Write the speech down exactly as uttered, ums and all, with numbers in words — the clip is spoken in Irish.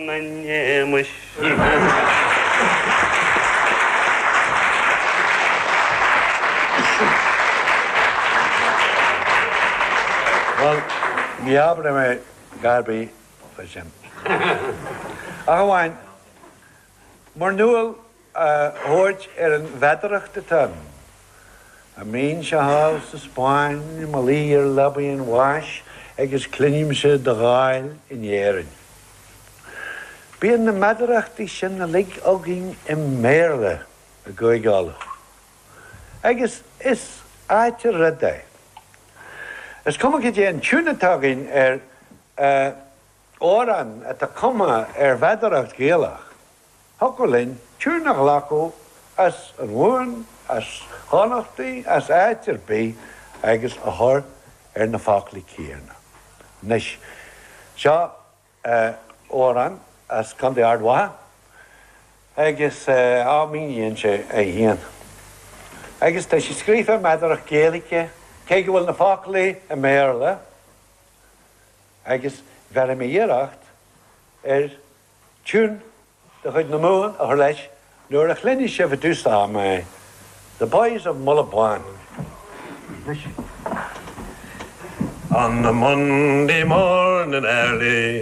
na n-éamuis. Bhuel, ní abróidh mé a dhath ar bith fá sin. Ach amháin, mur ndúil a thabhairt ar an mheadaracht atá ann. Dá mbeinnse thall sa Spáinn i mo luí ar leabaidh an bháis agus cluinimse do dháil in Éirinn. Bíonn na meadarachtaí sin uilig againn i mBéarla i gCúige Uladh. Agus is ait an rud é. Is cuma cad é an tiún atá againn ar amhrán atá cumtha ar mheadaracht Ghaelach, thiocfadh linn tiún a ghlacadh as an Mhumhain, as Chonnachtaí, as áit ar bith agus a chur ar na foclaí céanna. Anois, seo amhrán as Contae Ard Mhacha agus á míníonn sé é féin. Agus tá sé scríofa i meadaracht Gaeilge, cé go bhfuil na foclaí i mBéarla, agus bhéarfaidh mé iarracht ar tiún de chuid na Mumhan a chur leis nuair a chluinfidh sibh i dtús ama é, The Boys of Mullaghbawn. On a Monday morning early.